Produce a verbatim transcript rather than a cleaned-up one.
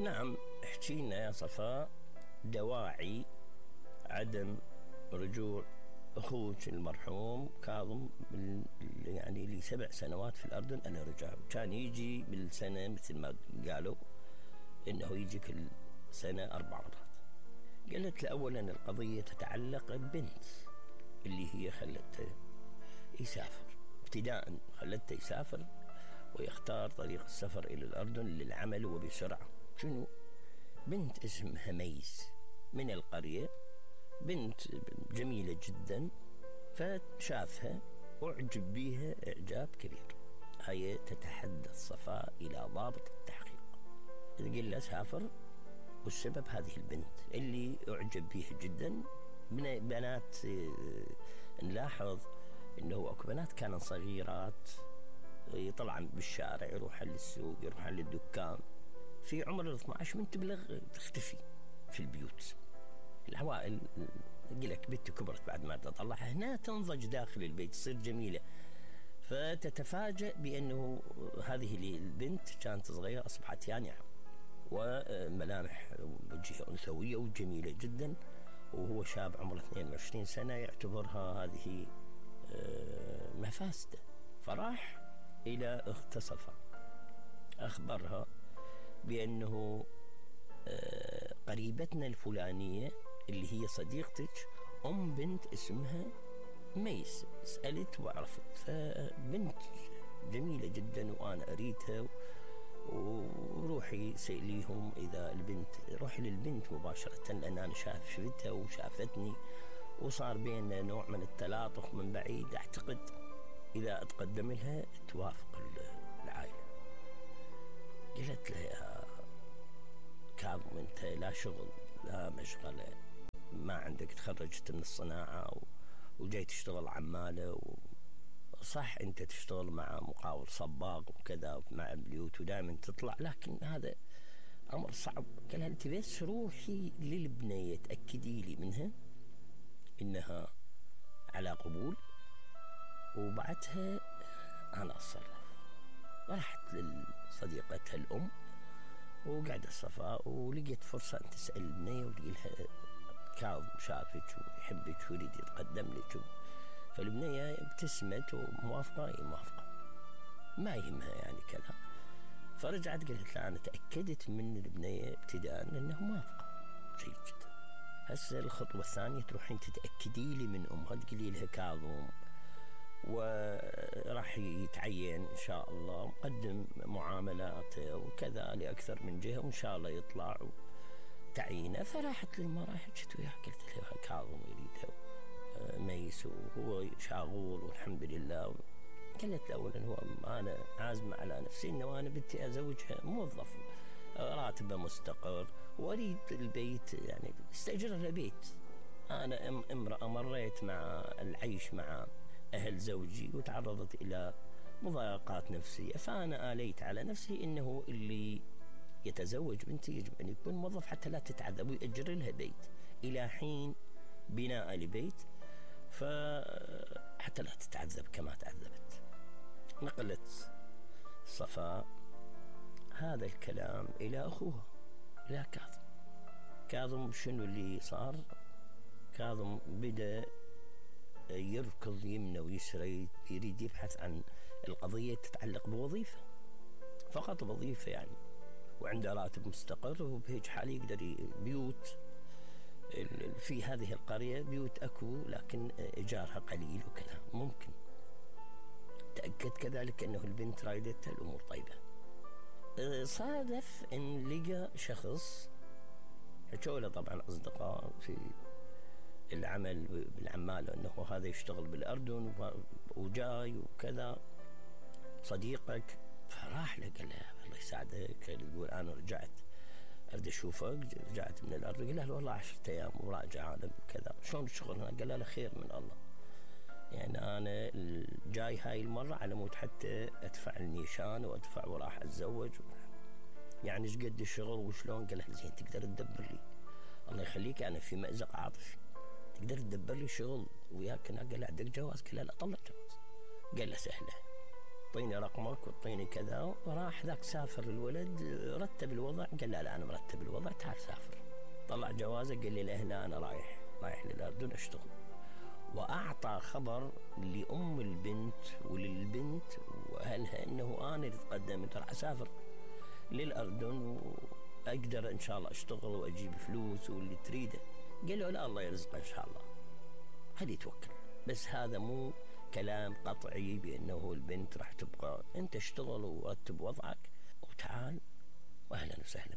نعم، احكي لنا يا صفاء دواعي عدم رجوع أخوك المرحوم كاظم يعني لسبع سنوات في الأردن أنا رجع. كان يجي بالسنة مثل ما قالوا إنه يجي كل سنة أربع مرات. قالت له أولا القضية تتعلق ببنت اللي هي خلته يسافر، ابتداء خلته يسافر ويختار طريق السفر إلى الأردن للعمل وبسرعة. شنو؟ بنت اسمها ميس من القرية، بنت جميلة جدا، فشافها وأعجب بيها إعجاب كبير. هي تتحدث صفاء إلى ضابط التحقيق، تقول له سافر والسبب هذه البنت اللي أعجب بيها جدا. من بنات نلاحظ إنه أكو بنات كانوا صغيرات يطلعن بالشارع، يروحن للسوق، يروحن للدكان، في عمر الاثنى عشر من تبلغ تختفي في البيوت. العوائل يقولك بنتي كبرت بعد ما تطلعها، هنا تنضج داخل البيت، تصير جميلة، فتتفاجأ بأنه هذه البنت كانت صغيرة أصبحت يانعة وملامح وجهها أنثوية وجميلة جدا، وهو شاب عمره اثنين وعشرين سنة يعتبرها هذه مفاسدة. فراح إلى أخت صفاء أخبرها بأنه قريبتنا الفلانية اللي هي صديقتك أم بنت اسمها ميس، سألت وعرفت، فبنت جميلة جدا وأنا أريدها، وروحي سأليهم إذا البنت، روحي للبنت مباشرة لأن أنا شافتها وشافتني وصار بيننا نوع من التلاطف من بعيد، أعتقد إذا أتقدم لها توافق العائلة. قلت له يا كاظم أنت لا شغل لا مشغلة، ما عندك، تخرجت من الصناعة وجاي تشتغل عمالة، صح أنت تشتغل مع مقاول صباغ وكذا مع البيوت ودائما تطلع، لكن هذا أمر صعب. قال أنت بس روحي للبنية تأكدي لي منها إنها على قبول وبعدها أنا أتصرف. رحت لصديقتها الأم وقعدت صفاء ولقيت فرصة أن تسأل البنية وتقولها كاظم شافك ويحبك ويريد يتقدم لك، فالبنية ابتسمت وموافقة اي موافقة، ما يهمها يعني كذا. فرجعت قلت لها أنا تأكدت من البنية ابتداء أنه موافقة، جيد جدا. هسه الخطوة الثانية تروحين تتأكدي لي من أمها، تقولي لها كاظم وراح يتعين إن شاء الله، مقدم معاملات وكذا لأكثر من جهة وإن شاء الله يطلع تعيينه. فراحت للمرأة حكت وياها، قلت لها كاظم يريدها ميس وهو شاغول والحمد لله. قالت له أولا هو أنا عازمة على نفسي إنه أنا بدي أزوجها موظف راتبه مستقر وأريد البيت، يعني استأجر لها بيت. أنا امرأة مريت مع العيش مع أهل زوجي وتعرضت إلى مضايقات نفسية، فأنا آليت على نفسي إنه اللي يتزوج بنتي يجب أن يكون موظف حتى لا تتعذب، ويأجر لها بيت إلى حين بناء لبيت، فحتى لا تتعذب كما تعذبت. نقلت صفاء هذا الكلام إلى أخوها إلى كاظم. كاظم شنو اللي صار؟ كاظم بدأ يركض يمنى ويسرى، يريد يبحث عن القضية تتعلق بوظيفة، فقط وظيفة يعني، وعنده راتب مستقر وبهيج حال يقدر بيوت في هذه القرية بيوت أكو لكن إيجارها قليل وكذا ممكن. تأكد كذلك أنه البنت رايدتها الأمور طيبة. صادف أن لقى شخص حكوا طبعا أصدقاء في العمل بالعمال أنه هذا يشتغل بالأردن وجاي وكذا صديقك، فراح له قال له الله يساعدك، يقول أنا رجعت أريد أشوفك، رجعت من الأردن. قال له والله عشرة أيام وراجع أنا كذا، شلون الشغل هنا؟ قال له خير من الله، يعني أنا جاي هاي المرة على مود حتى أدفع النيشان وأدفع وراح أتزوج، يعني إيش قد الشغل وشلون؟ قال له زين تقدر تدبر لي، الله يخليك أنا في مأزق عاطفي، تقدر تدبر لي شغل وياك هنا؟ قال له عندك جواز؟ قال له لا طلع جواز. قال له سهلة، اعطيني رقمك واعطيني كذا. وراح ذاك سافر الولد، رتب الوضع، قال لا لا انا مرتب الوضع تعال سافر. طلع جوازه قال لي لا هنا انا رايح رايح للاردن اشتغل. واعطى خبر لام البنت وللبنت واهلها انه انا اللي تقدمت راح اسافر للاردن واقدر ان شاء الله اشتغل واجيب فلوس واللي تريده. قالوا لا الله يرزقه ان شاء الله، خليه يتوكل. بس هذا مو كلام قطعي بانه البنت راح تبقى. انت اشتغل ورتب وضعك وتعال واهلا وسهلا.